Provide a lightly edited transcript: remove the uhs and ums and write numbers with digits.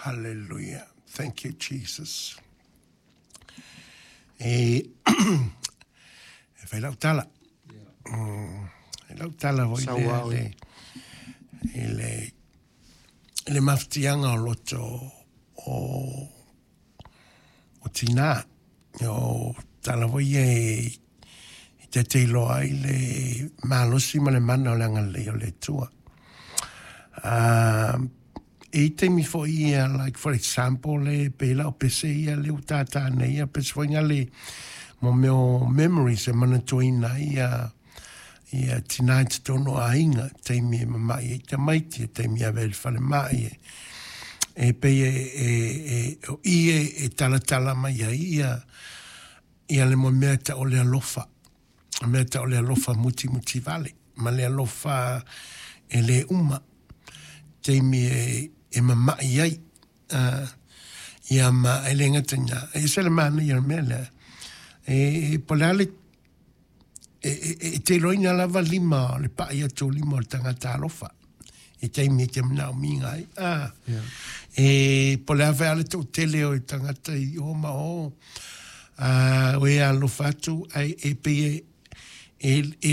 Hallelujah. Thank you, Jesus. E e fai lau tala. E lau tala foi lea le, i le, i le mafatiaga o loto o, o tinā. O tala foi ia e, e taitailoa ai le malosi ma le mana o le agalelei o le Atua. E i taimi foi ia, like for example, le pei la o pese ia le ua tātā nei ia, pese foi ngale mo mea o memories e manatuaina ai ia, ia tinā i totonu o aiga, taimi e mama'i ai tamaiti, e taimi e ave ai i le falemai, e, e pei e, e, e, o i e, e talatala mai ai ia, ia le mea e ta'u o le alofa. O mea ta'u o le alofa mutimuti vale, ma le alofa e lē uma, taimi e, e mama'i ai. Ia ma e le gata i lena, e ese le manaia o le mea lea, e, e, po o le a le, e, e, e te iloaina lava lima o le pa'i atu o lima o le tagata alofa i taimi e te manaomiga ai. Ah, yeah. E po o le a foi lava le to'atele o tagata i o ma o, o e alofa atu, ae e pei e, e, e